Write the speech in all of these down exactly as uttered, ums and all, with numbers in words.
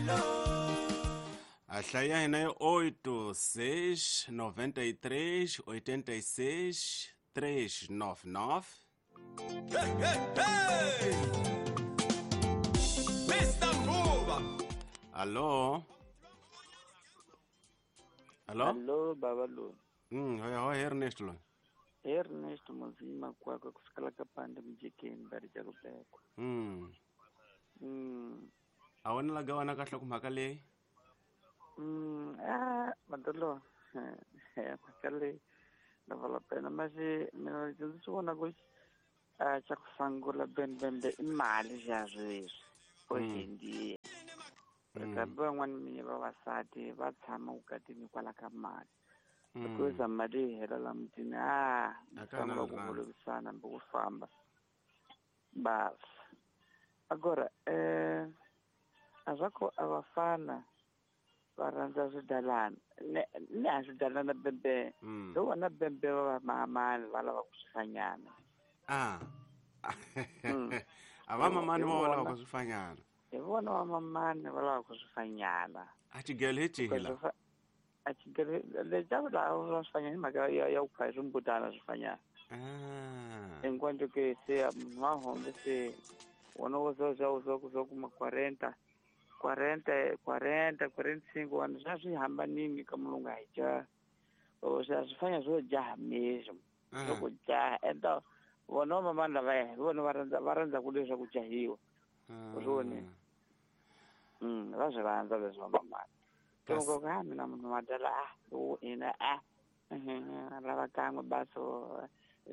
A hlaya hina yi oito seis noventa e três oitenta e seis três nove nove. Hey, hey, hey! Mister Mbuba. Alô? Alô? Alô, Babalu. Hum, oi, oi, Ernesto. Lo. Ernesto Mozima kwakwa kusukela kapande mjikeni bari ja kubekwa. Mm. Mm. A wona la gawana kahle ku mhaka leyi? Mm, ah, madolo. Mhaka leyi na vala pena mas mina ndzi swi vona ku a xa ku sungula bembembe i mali xa sweswi hoje em dia. Kambe van'wani mi vavasati va tshama vukatini hikwalaho ka mali. Loko yo za mali yi hela la mutini a sungula ku vulavurisana hambi ku famba. Bas. Agora eh a swa ku a vafana va rhandza swidalana ne ne a swidalana bembe hi vona bembe va mamani va lava ku swifanyana. Ah. A va mamani va lava ku swifanyana. Hi vona va mamani va lava ku swifanyana. A xigelo hi xihi la? A xigelo lexi va lava swifanyana hi mhaka ya ya ku khaya swimbutana swifanyana. Ah. Enquanto que se munhu wa hombe se wona wo zo zo zo zo kuma quarenta quarenta quarenta quarenta e cinco anos já swi hambanini ka mulungu a hi jaha. Ou seja, swifanya swo jaha mesmo. Loko jaha então vona va mamani lavaya hi vona va rhandza va rhandza ku leswaku jahiwa. U swi vonile? Mm, va swi rhandza leswi va mamani. Loko ku ha mina munhu madala a lowu ina a a lava kan'we baso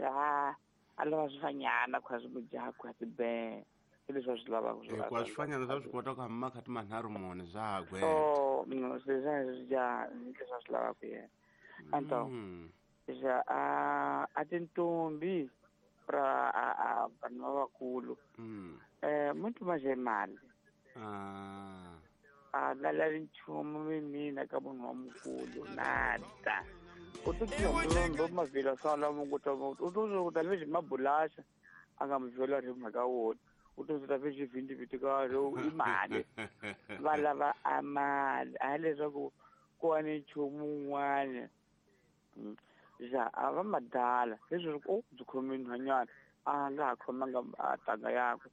a a lava swifanyana ku swi mujaha ku swi be leswi va swi lavaka swi Hikuva swifanyana swa swi kota ku hamba makhati manharhu mune swa ha gweta. Oh, no, swi swa swi jaha leswi a swi lavaka yena. Então, já a a tintombi pra a a vanhu lavakulu. Mm. Eh, muito mais é mali. Ah. A nga lavi nchumu mina ka munhu wa mukulu nada. U to ndo mavhila swa la mungu ta u to ta lexi mabulaxa a nga muvhela ri mhaka wona. U to ta lexi vindi viti ka ro i mali. Va lava a mali a leswaku ku wa ni nchumu wun'wana. Ja a va madala leswi ku byi khome nhwanyana a nga ha khomanga a tanga yakwe.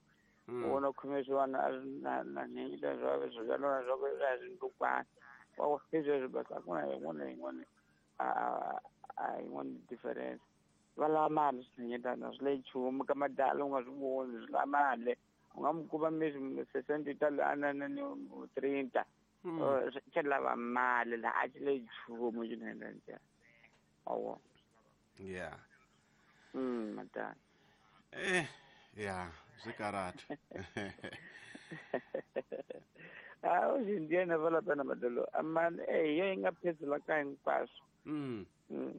Wona khome swona na na ni leswi swi swa swa ku swa swindukwana. Wa leswi basa ku na yin'wana yin'wana a a yin'wana difference. Va lava mali swinyenyetana swi le nchumu ka madala u nga swi voni swi lava mali. U nga mi kuma mesmo sessenta italiana na ni trinta. Xi lava mali la a xi le nchumu xinene. Awa. Yeah. Mm, madala. Eh, yeah, swi karata. Ah, hoje em dia não vale a pena madalo. Mas eh yo nga phezulu ka hinkwaswo. Mm.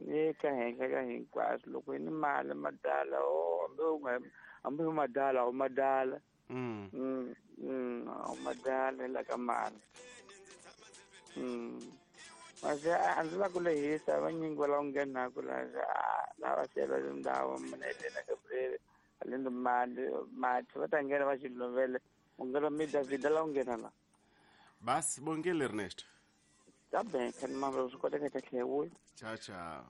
Ye ka henhla ka hinkwaswo loko ni mali madala o hambi u nga hambi u madala u madala. Mm. Mm, mm, u madala la ka mali. Mm. Mas a ndzi la ku lehisa vanyingi va lava nghenaku la lava sela tindhawu mina Helena Gabriel alendo mali mati va ta nghena va xilovele u nghena mi David la u nghena la. Bas bongile Ernesto. Tá bem, quero mandar os colegas que é hoje. Tchau, tchau.